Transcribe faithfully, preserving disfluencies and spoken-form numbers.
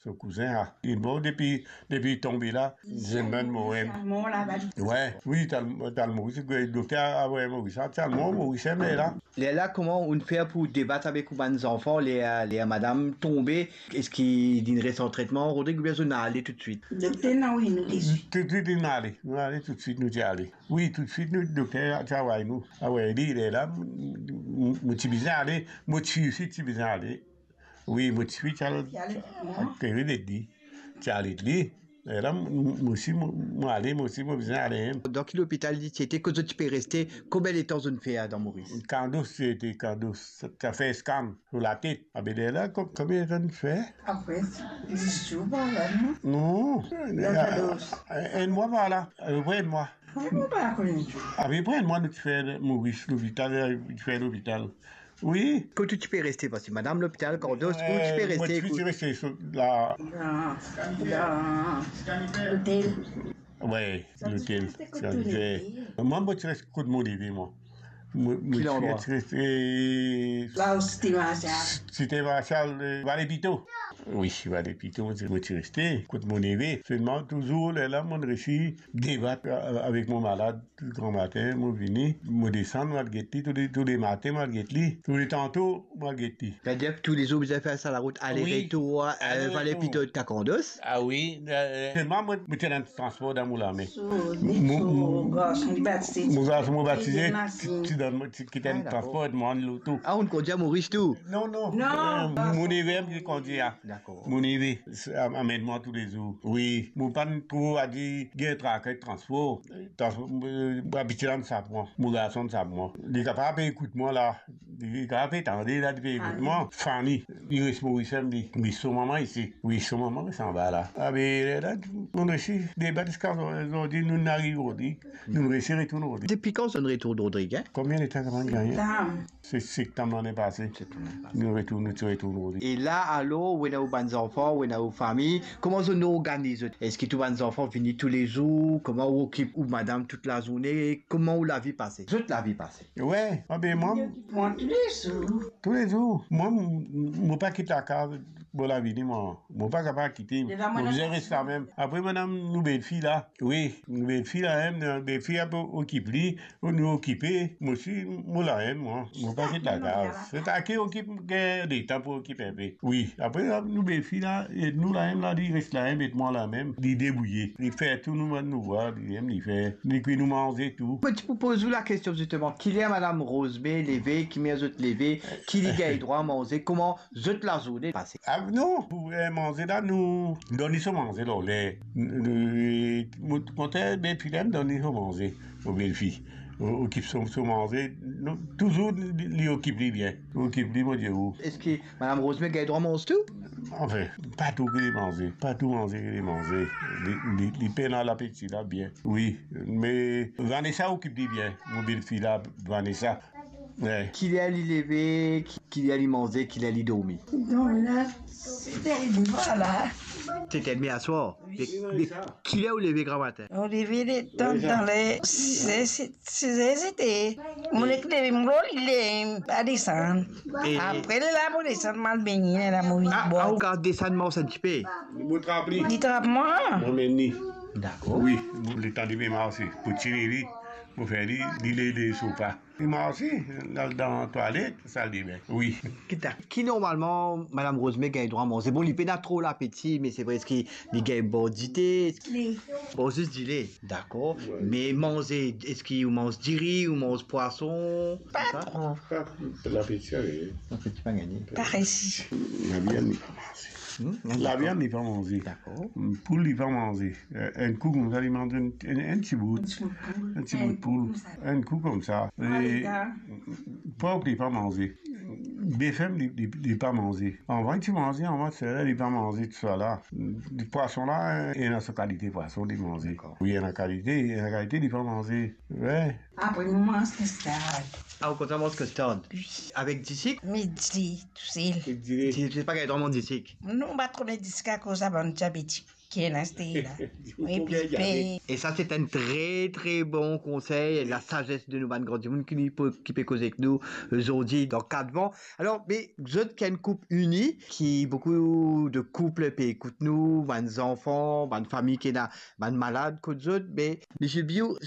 So kouzin la. Li mor depi, depi li tonbe la, zame mor. Mor laba li. Wi, ti al, ti al Moris, dokter avoy Moris la, ti al mor Moris, me la. Lerla, kouma ou'nn fer pou debat avek ou bann zanfan, ler, ler madam tonbe, eski li'nn res an tretman, Rodrig, oubien zot inn ale toutswit? Dokter inn avoy nou toutswit. Toutswit, li'nn ale. Nou ale toutswit, nou ti ale. Wi, toutswit, nou, dokter ti avoy nou. Avoy li, lerla, mo, mo, mo ti bizin ale, mo tifi osi ti bizin ale. Wi, mo tifi ti al, ti al ete li. Ti al ete li. E la, mo, mo osi, mo, mo ale, mo osi, mo bizin ale. Dan ki lopital li ti ete, kot zot ti pe reste, konbien letan zot inn fer dan Moris? Kardoz ti ete, Kardoz, ti al fer scan lor latet. Abe lerla, ko-, konbien letan inn fer? Apre dis zour par la, non? Non. Kardoz. Enn mwa par la, apepre enn mwa. Apepre enn mwa nou ti fer Moris, lopital, ti fer lopital. Wi. Kot ou ti pe reste, parski madam lopital, Kardoz, ou ti pe reste? Mo ti pe reste so, la. Dan, dan lotel. Wi, lotel. Mwa, mo ti res kot mo neve, mwa. Mo, mo ti res, eh, la ou Site Marsial. Site Marsial, eh, Vale Pito. Wi, Vale Pito, mo ti, mo ti reste kot mo neve. Selman, touzour, lerla, mo'nn resi debat, eh, avek mo malad. Gran matin, mo vini, mo desann, mo al get li, toule, toule matin, mo al get li, toule tanto, mo al get li. Savedir toulezour bizin fer sa larout, ale retour, eh, Vale Pito, Kardoz? Ah wi, eh, selman mo, mo ti ena transpor dan mo lame. Mo, mo, mo garson, mo batize, ti, ti dan mo, ti, ti ena transpor, mo ann loto. Ah, ou'nn kondir Moris tou? Non, non. Non. Eh, mo neve ki kondir, ah. Dakor. Mo neve, amenn mwa toulezour. Wi, mo pa'nn tro, a dir, gagn traka transpor. Trans-, eh, mo abitie la, mo sap mwa. Mo garson sap mwa. Li kapav pe ekout mwa la. Li kapav pe tande la, li pe ekout mwa. Fanny, li res Moris, li, li so mama isi. Wi, so mama res anba la. Abe, la, nou resi debat ziska zordi, nou ariv Rodrig. Nou resi retourn Rodrig. Depi kan zot retourn Rodrig, hein? Konbien letan kapav gagne? Septam. Se septam lane pase. Septam lane pase. Nou retourn, nou ti retourn Rodrig. E la, alor, ou ena ou bann zanfan, ou ena ou fami, kouma zot organiz zot? Eski tou bann zanfan vini toulezour? Kouma ou okip ou madam tout lazourne? Kouma ou lavi pase? Zot lavi pase? Wi, abe mwa, mwa toulezour. Toulezour. Mwa, mo, mo pa kit lakaz, mo lavi ni mwa. Mo pa kapav kite. Mo bizin res la mem. Apre, madam, nou belfi la. Wi, nou belfi la mem, nou belfi la pou okip li. Nou okipe, mo osi, mo la mem, mwa. Mo pa kit lakaz. Se ta ki okip, gagn letan pou okip inpe. Wi, apre, nou belfi la, ed nou la mem la, li res la mem, ed mwa la mem, li debrouye. Li fer tou nou, nou vwar, li mem, li fer, li kwi nou manze tou. Mo ti pou poz ou lakestion, zisteman, kiler madam Rose May leve, kiler zot leve, ki li gagn drwa manze, kouma zot lazourne pase? Ah, non, pou, eh, manze la, nou donn li so manze lor ler. Nou, nou, mo kontan, belfi la, donn li so manze, mo belfi. O-, okip so, so manze, nou, touzour li, li okip li bien. Okip li, mo dir ou. Eski madam Rose May gagn drwa manze tou? Anfin, pa tou ki li manze, pa tou manze ki li manze. Li, li, li pena lapeti la bien. Wi, me Vanessa okip li bien, mo belfi la, Vanessa. Wi. Kiler li leve, ki-, kiler li manze, kiler li dormi? Donk la, sete ed, vwala. Sete edmi aswar. Wi. De, de kiler ou leve gramatin? Mo leve letan, dan le siz, siz, siz er sete. Mo nek leve, mo lor li, li pa desann. E apre, lerla mo desann, mo al begne, lerla mo vinn bwar. Ah, ou kapav desann mars enn tipe? Mo trap li. Li trap mwa. Mo amenn li. Dakor. Wi, letan li pe marse, pou tire li, mo fer li, li leve so pa. Li marse, li al dan twalet, saldebin. Wi. Ki ta-, ki normalman, madam Rose May gagn drwa manze? Bon, li pena tro lapeti, me se vre, eski li gagn bwar dite? Dile. Bwar zis dile, dakor. Wi. Me manze, eski ou manz diri, ou manz pwason, koumsa? Pa tro. Pa tro. Lapeti, ale. Lapeti pa gagne. Pa resi. Laviann, li pa manze. Hmm? Laviann, li pa manze. Dakor. Poul, li pa manze. Eh, enn kou koumsa, li manz enn, enn, enn ti bout. Enn ti bout poul. Enn kou koumsa. Enn kou koumsa. Pork, li pa manze. Bef, li, li, li pa manze. Anvan, li ti manze, anvan, sela, li pa manze, tousala. Pwason la, ena so kalite pwason, li manze. Dakor. Wi, ena kalite, ena kalite, li pa manze. Wi. Apre, nou manz kastard. Ah, ou kontan manz kastard? Wi. Avek disik? Me dile, tousel. Dile. Ti, ti pa gagn drwa manz disik? Non, pa tro met disik akoz sa bann diabetik. Kel aste la. Wi, pi pe. E sa, se enn tre, tre bon konsey, lasazes de nou bann gran dimoun ki, ki pe koz ek nou zordi dan Kat Van. Alor, me zot ki enn koup ini, ki boukou de koup pe ekout nou, bann zanfan, bann fami ki ena bann malad kot zot, me Misie Biou,